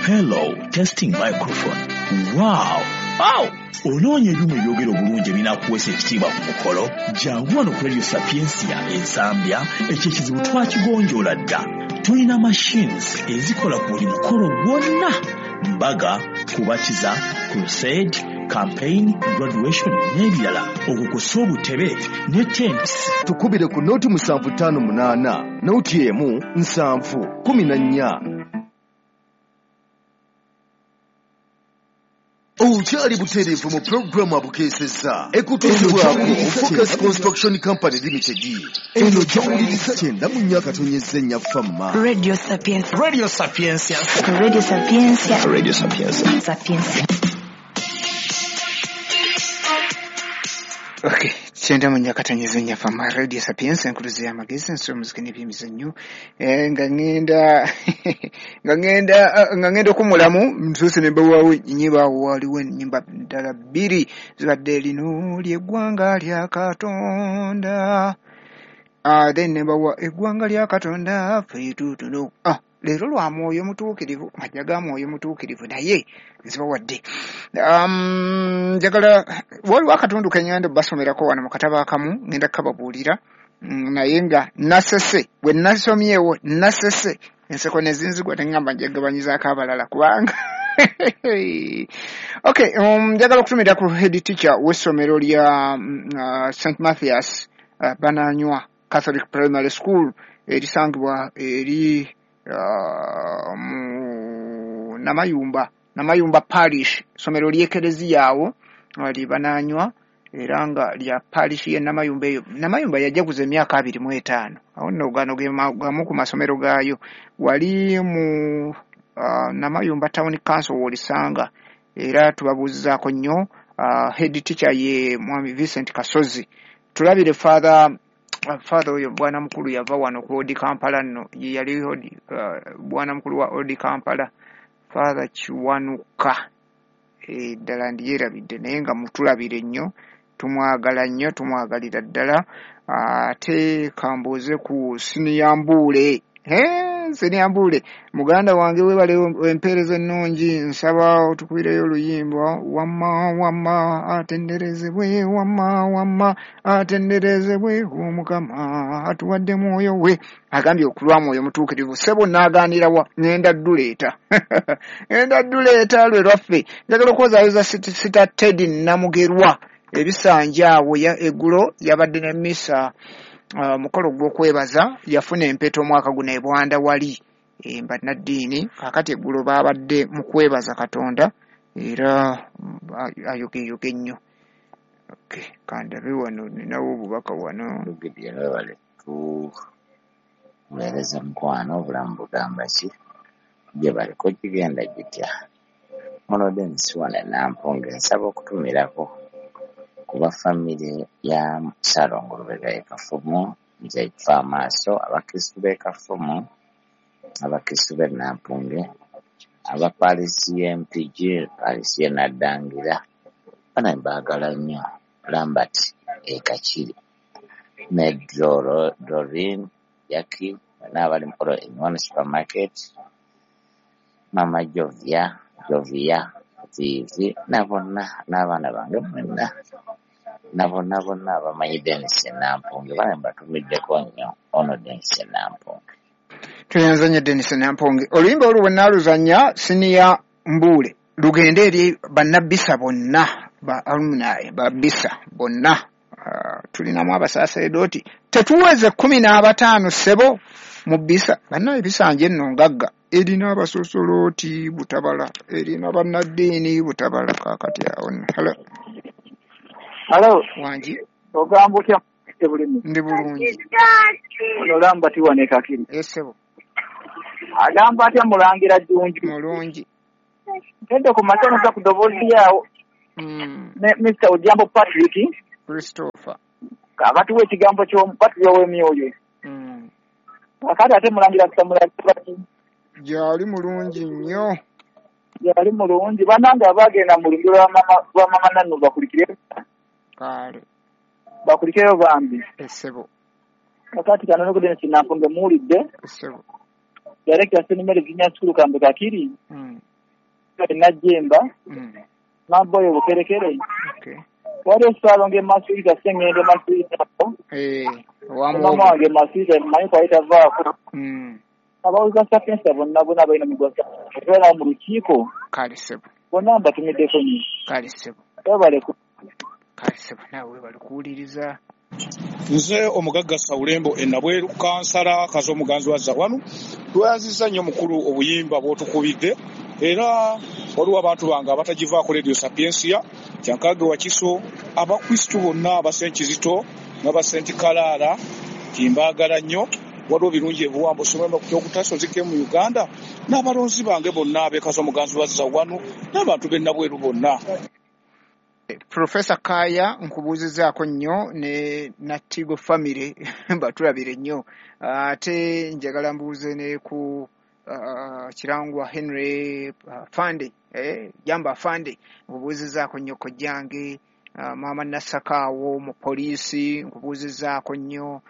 Hello, testing microphone. Wow! Wow! Onoonya ebyuma ebyogera obulungi ebinaakuweesa ekitiibwa ku mukolo? Jangu wano ku Radio Sapientia e Nsambya, ekyo ekizibu twakigonjoola dda. Tulina machines ezikola ku buli mukolo gwonna: mbaga, kubatiza, crusade, campaign, graduation n'ebirala. Okwo kw'ossa obutebe ne tents. Tukubire ku 0 7 5 8 0 1 7 14. Okyali butereevu mu pulogulaamu abukeesezza ekutuusibwako Focus Construction Company Limited. Eno gy'owuliriza 94.4 Famma. Radio Sapientia. Radio Sapientia. Radio Sapientia. Radio Sapientia. Sapientia. Okay, 94.4 Famma Radio Sapientia, enkuluzi y'amagezi, ensolo, muziki n'ebyemizannyo. Nga ngenda okumulamu ntuuse ne mbawaawo ennyimba. Awo waliwo ennyimba ddala bbiri zibadde lino ly'eggwanga lya Katonda. Then ne mbawa eggwanga lya Katonda ffe tuutuno. Leero lwa Mwoyo Mutuukirivu, majja ga Mwoyo Mutuukirivu, naye nzibawadde. Njagala waliwo akatundu ke ngenda basomerako wano mu katabo akamu, ngenda kukababuulira, naye nga nasese bwe nasomyewo, nasese enseko ne zinzigwa, neŋŋamba njagabanyizaako abalala kubanga okay. Njagala okutumira ku head teacher w'essomero lya St Mathias Bananywa Catholic Primary School erisangibwa eri mu Namayumba Parish, somero ly'ekereziya awo lye Bananywa, era nga lya parish ye Namayumba. Eyo Namayumba yajaguza emyaka 25. Awo nno gano ge gamu ku masomero gaayo wali mu Namayumba Town Council w'olisanga, era tubabuuzizaako nnyo. Head teacher ye Mwami Vincent Kasozi. Tulabire father oyo bwana mukulu yava wano ku Old Kampala nno, ye yali bwana mukulu wa Old Kampala, Father Kiwanuka. Ddala ndiyerabidde, naye nga mutulabire nnyo, tumwagala nnyo, tumwagalira ddala. Ate kambuuze ku Siniyambuule. Siniyambuule muganda wange, webale empeereza ennungi. Nsaba otukubireyo oluyimba "Wamma wamma atenderezebwe, wamma wamma atenderezebwe Omukama atuwadde mwoyo we." Agambye okulwa Mwoyo Mutuukirivu. Ssebo, naagaanirawa? Ŋŋenda dduleeta, ŋŋenda dduleeta lwe lwaffe. Njagala okwozaayoza Sita Teddy Namugerwa ebisanja awo. Eggulo yabadde ne misa, mukolo gw'okwebaza. Yafuna empeta omwaka guno ebwanda wali bannaddiini. Kaakati eggulo baabadde mu kwebaza Katonda, era ayogeyoge nnyo. Okay, kandabe wano, ninawo obubaka wano. Lugidde, webale tuweereza mukwano. Obulamu bugamba ki gye baliko? Kigenda gitya? Muno Denis wano Nampunge, nsaba okutumirako kuba famire ya Ssalongo Lubega e Kafumu, nze kufa amaaso, abakristu b'e Kafumu, abakristu b'e Nampunge, aba parish y'e Mpigi, parish y'e Naddangira, bana mbaagala nnyo. Lambert e Kakiri ne Dorin Jackie n'abali mukolo in supermarket, Mama Jovia, Jovia Vivi, na bonna n'abaana bange mwenna, na bonna bonna abamanyi Denis Nampunge, bana mbatumiddeko nnyo. Ono Denis Nampunge. Tweyanza nnyo Denis Namponge. Oluyimba olwo bwe naaluzannya, Siniya Mbuule, lugende eri bannabbisa bonna, ba alumni ba Bisa bonna. Tulinamu abasaaseredooti tetuweze 15 ssebo mu Bisa. Banna ebisanja enno ngagga, erina abasosolooti butabala, erina bannaddiini butabala. Kaakati awo nno, hello. Halo, Wangi. Ogamba otya bulimu? Ndi bulungi. Ono Lambert wano e Kakiri. Esebo. Agamba atya Mulangira Jjunju? Mulungi. Ntedde ku makya noza ku ddoboozi lyawo ne Mr. Ojambo Patrick Christopher. Abatuwa ekigambo ky'omupatuliro w'emyoyo. Kakati ate Mulangira Samulaki? Gyali mulungi nnyo. Yali mulungi. Bannange abagenda mu lumbe lwa mama Nannu bakulikire. Kale. Bakulikireyo bambi. Esebo. Kakati kano nokudene kinampunge muwulidde. Esebo. Director St. Mary Junior School Kambe Kakiri. Najjemba. Maboyo Bukerekere. Okay. Waliwo Ssaalongo e Masuliita, Ssengendo Masuliita. Maama wange Masuliita mmanyi kwali tavaako. Abawuliza Sapientia bonna bonna balina mugwa tubeera mu lukiiko. Kale ssebo. Bonna mbatumiddeko nnyo. Kale ssebo. Webale. Kale ssebo, naawe webale kuwuliriza. Nze omugagga Sawulembo e Nabweru, kansala Kazo omuganzi wa Zawanu. Tweyanzizza nnyo mukulu obuyimba bw'otukubidde, era waliwo abantu bange abatagivaako Radio Sapientia, Kyankage Wakiso, Abakristu bonna aba St. Kizito n'aba St. Kalaala, timbaagala nnyo. Waliwo birungi ebiwambo somemba ku kyokutaso zike mu Uganda, n'abalonzi bange bonna ab'e Kazo omuganzi wa Zawanu n'abantu b'e Nabweru bonna. Professor Kaya nkubuuzizaako nnyo ne Natigo family batulabire nnyo, ate njagala mbuuze ne ku Kirangwa Henry Fande, Jamba Fande, nkubuuzizaako nnyo kojjange, Maama Nasakaawo mu poliisi nkubuuzizaako nnyo,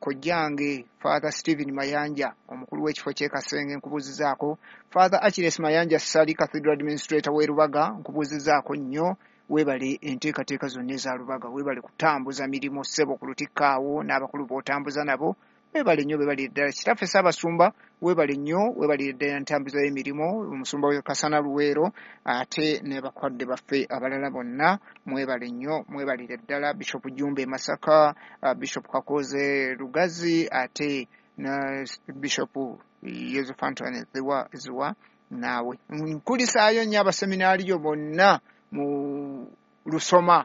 kojjange Father Stephen Mayanja omukulu w'ekifo ky'e Kasenge nkubuuzizaako, Father Achilles Mayanja Ssali Cathedral Administrator w'e Lubaga nkubuuzizaako nnyo, weebale enteekateeka zonna eza Lubaga, weebale kutambuza mirimu ssebo ku Lutikko awo n'abakulu b'otambuza nabo, weebale nnyo, weebalire ddala. Kitaffe Ssaabasumba weebale nnyo, weebalire ddala entambuza y'emirimu, omusumba w'e Kasana Luweero, ate ne bakadde baffe abalala bonna mwebale nnyo, mwebalire ddala. Bishop Jumbe e Masaka, Bishop Kakoze Lugazi, ate ne Bishop Yosef Antoine Ziwa naawe. Nkulisaayo nnyo abaseminaariyo bonna mu lusoma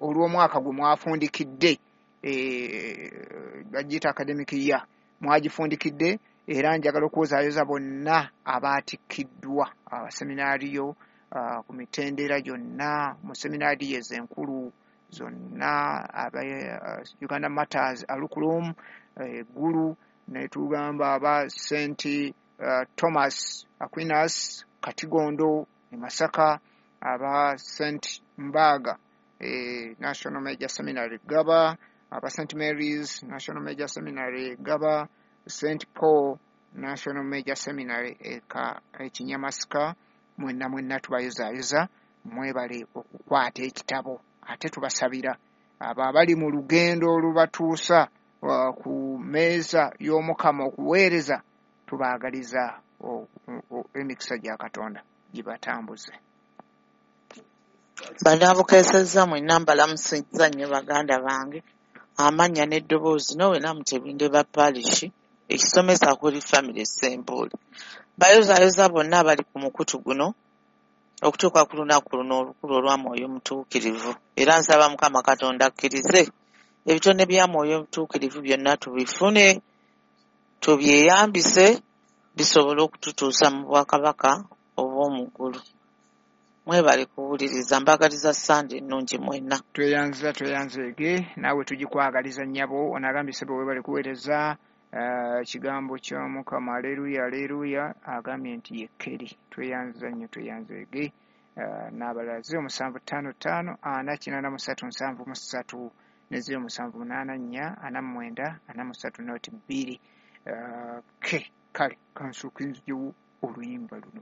olw'omwaka gwe mwafundikidde, bagiyita academic year, mwagifundikidde, era njagala okwozaayoza bonna abaatikkiddwa abaseminaariyo ku mitendera gyonna mu seminaariyo ezo enkulu zonna, aba Uganda Matters Alukulum Gulu, ne tugamba aba St. Thomas Aquinas Katigondo e Masaka, aba St. Mbaga National Major Seminary Gaba, aba St. Mary's National Major Seminary Gaba, St. Paul National Major Seminary Ekinyamasika, mwenna mwenna tubayozaayoza, mwebale okukwata ekitabo, ate tubasabira abo abali mu lugendo olubatuusa ku mmeeza y'Omukama okuweereza, tubaagaliza emikisa gya Katonda gibatambuze. Banaabukeesezza mwenna mbalamusizza nnyo baganda bange, amannya n'eddoboozi n'owena Mutebinde ba parish ekisomesa kuli family Ssembuule. Bayozaayoza bonna abali ku mukutu guno okutuuka ku lunaku luno olukulu olwa Mwoyo Mutuukirivu, era nsaba Mukama Katonda akkirize ebitone bya Mwoyo Mutuukirivu byonna tubifune, tubyeyambise bisobole okututuusa mu bwakabaka obw'omu ggulu. Mwebale kuwuliriza, mbagaliza Sande ennungi mwenna. Tweyanza tweyanzeege, naawe tugikwagaliza nnyabo. Onagambye ssebo weebale kuweereza ekigambo kya Mukama, aleluya aleluya, agambye nti ye Keri. Tweyanza nnyo tweyanzeege. N'abalala 0755 483 73 ne 0784 49 43 02. Kale kansooke nziggyewo oluyimba luno.